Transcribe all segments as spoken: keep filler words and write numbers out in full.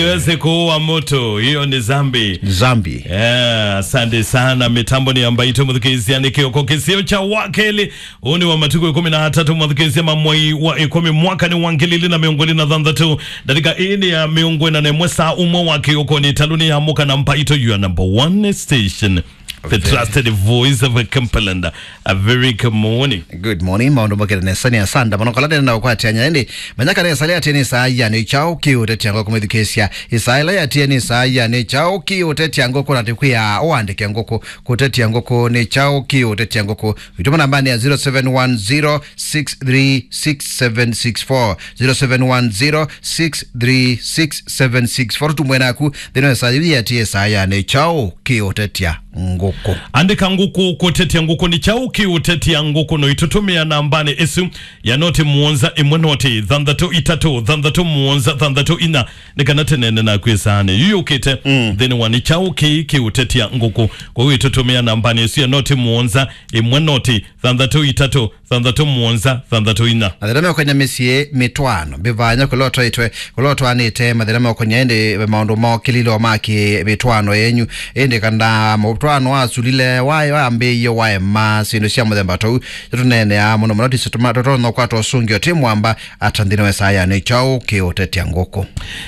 Siwezi kuua mtu, hiyo ni dhambi. Dhambi. Yeah, asante sana. Mitambo ni ambayo tumethukizia ni kioko kisio cha wakeli. Huu ni wa matuku ikumi na atatu mwathukizia ma mwei wa ikumi mwaka ni wa ngili ili na mĩongo ĩlĩ na thanthatũ. Dakika ĩĩ nĩ ya mĩongo ĩna na ĩmwe saa ũmwe wa kĩoko nĩ taluni ya mũka na mbaito, your number one station. The trusted voice of a Cumberland. A very good morning. Good morning. Maũndũ mokĩte nesa nĩ asanda. Mũno kala ndena ũkwatĩanya ĩndĩ. Manya kana ĩsalĩ atĩ nĩ saa ya nĩ kyaũ kĩũtetya ngoko mwĩthukĩĩsya. Ĩsalĩ atĩ nĩ saa ya nĩ kyaũ kĩũtetya ngoko na tĩkwĩa ũandĩke ngoko. Kũtetya ngoko nĩ kyaũ kĩũtetya ngoko. Wĩtũma namba nĩ ya zero seven one zero six three six seven six four. Zero seven one zero six three six seven six four. Tũtũmwe naku thĩna wa saa yĩu atĩ saa ya nĩ kyaũ kĩũtetya ngũkũ. Andĩka ngũkũ, kũtetya ngũkũ nĩ kyaũ kĩũtetya ngũkũ, no itũtũmĩa nambanĩ ĩsu ya noti mũonza ĩmwe noti thanthatũ itatũ thanthatũ mũonza thanthatũ inya, nĩ kana tũneene naku ĩsaanĩ yu yũkĩte. Mm. Nthĩnĩ wa nĩ kyaũ kĩĩ kĩũtetya ngũkũ. Kwoou itũtũmĩa nambanĩ ĩsu ya noti mũonza ĩmwe noti thanthatũ itatũ thanthatũ mũonza thanthatũ inya. Mathĩna meũkany'a mĩsyĩ mĩtwaano, mbĩvanya kũla ũtwaĩtwe, kũla ũtwaanĩte, mathĩna meũkany'a ĩndĩ maũndũ mokĩlile o ma kĩ mĩtwaano yenyu, ĩndĩ kana mũtwaano wasulile, wa-, wambĩĩie waema, syĩndũ sya mũthemba tũu, tũneeneaa mũno mũno, tũtonya ũkwata ũsũngĩo tĩ mwamba, ata nthĩnĩ wa ĩsaa ya nĩ kyaũ kĩũtetya ngũkũ.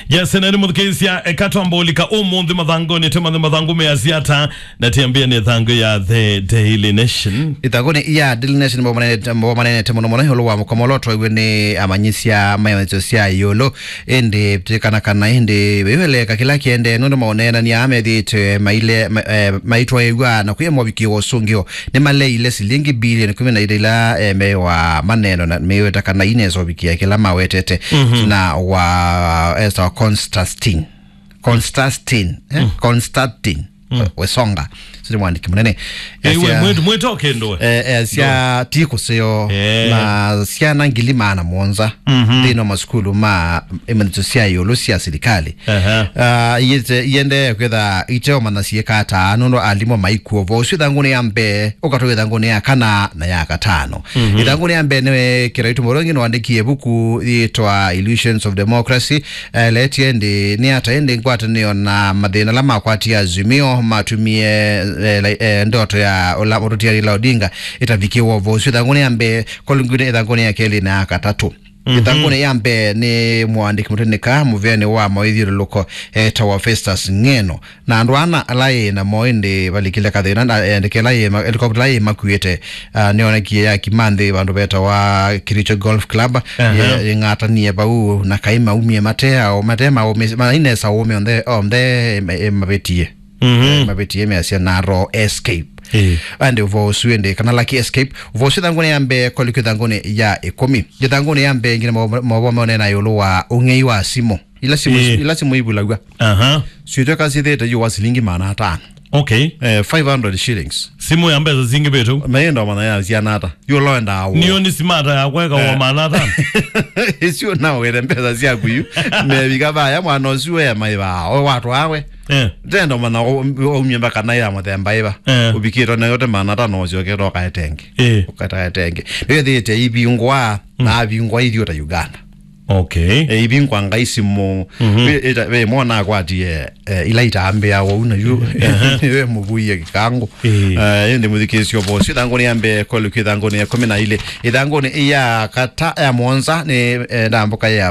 Yes, na nĩ mũthukĩĩsya, eka twamba ũlika ũmũnthĩ mathangũnĩ, tũmanye mathangũ measya ata, na tiambia nĩ thangũ ya The Daily Nation. Ĩthangũnĩ ya Daily Nation, mbo manenete, mbo manenete mũno mũno ĩũlũ wa mũkomo ũla ũtwaiwe nĩ amanyĩsya ma ĩmanyĩsyo sya ĩũlũ. Ĩndĩ tĩkana kana ĩndĩ wĩweleka kĩla kĩendee nũndũ maũneenania methĩĩtwe maile, ma-, eh, maitwaĩw'a na kwĩ movikĩo wa ũsũngĩo nĩmaleile silingi bilioni kũmi na ilĩ ila, eh, me wa maneno na meweta kana inesa ũvikĩa kĩla mawetete. Mhm. Na wa, eh, esa wa Constantine. Constantine, eh? Mm. Constantine. Mm. We-, Wesonga. Sili mwandĩki mũnene. Eh, we, Esia, mwĩt-, mwĩto kĩndũ we. Eh, eh, sya ti kũseo. Eh. Na syana ngili maana mũonza. Mhm. Nthĩnĩ wa masukulu ma ĩmanyĩsyo sya ĩũlũ sya silikalĩ. Aha. Ah, iete-, iendee kwĩtha iteũmanya syĩka ata, nũndũ alimũ maikuo vo. Ũsu ĩthangũnĩ ya mbee, ũkatũa ĩthangũnĩ ya kana na ya katano. Mhm. Ĩthangũnĩ ya mbee nĩwe kĩraitũ mũrongi nĩwandĩkie ĩvuku yĩtwa Illusions of Democracy. Eletie ĩndĩ nĩ ata ĩndĩ ngwatanĩo na mathĩna ala makwatie Azimio matumie, eh, la-, eh, ndoto ya ũla mũtũtia Raila Odinga ĩtavikĩwa vo ũsu ĩthangũnĩ ya mbee, kolingwine ĩthangũnĩ ya kelĩ na ya katatũ. Mhm. Ĩthangũnĩ ya mbee nĩ mũandĩki mũtĩnĩka mũvĩanĩ wa maũithyũlũlũko etawa Festus Ng'eno. Na andũ ana ala ĩ namo ĩndĩ valikile kathĩna na, eh, ndeke ĩla yĩ ma-, helicopter ĩla yĩmakuĩte, ah, nĩyonekie yakima nthĩ vandũ vetawa Kericho Golf Club. Aha. Ye-, yĩng'atanie vau na kaĩ maumie mate ao, mate maũmĩ-, mainesa ũũme onthe, onthe, eh, mavĩtie. Mhm. Eh, mavĩtie measya narrow escape. Ĩĩ. Ĩndĩ ũvoo ũsu ĩndĩ kana lucky escape, ũvoo ũsu ĩthangũnĩ ya mbee, koliki ĩthangũnĩ ya ĩkũmi. Ĩthangũnĩ ya mbee ngina maũvoo meũneena ĩũlũ wa ũng'ei wa simũ. Ila simũ, ĩĩ, ila simũ ivulaw'a. Aha. Syĩtweka syĩthĩĩte yu wa silingi maana atano. Okay. Eh, five hundred shillings. Simũ ya mbesa zingi vitu. Mayenda mana ya siana ata. Yu loenda awo. Nio ni simata ya kweka wa, eh, maana atano. Isu na were mbesa syaku yu. Mevika vaya mwana ũsu we maiva. O watu awe. Eh. Ndenda mana o-, o-, umye mbaka na ya mũthemba iva. Eh. Uvikitwe na yote maana atano ũcio ũkĩta ũkaetenge. Eh. Ũkaetenge. Nĩyo thĩte ivingwa, mm, na avingwa ithiũta Uganda. Okay. E, ivingwa ngai simũ. Mhm. Ve, ita-, ve mwana akwatie, eh, ila itambĩa wau na yu. Aha. We mũvuie kĩkangũ. Eh. Eh, ĩndĩ mũthikĩĩsyo vosi. Ĩthangũnĩ ya mbee, koliki ĩthangũnĩ ya kũmi na ilĩ. Ĩthangũnĩ ya kata, ya mũonza, nĩ, eh, ndambũka ya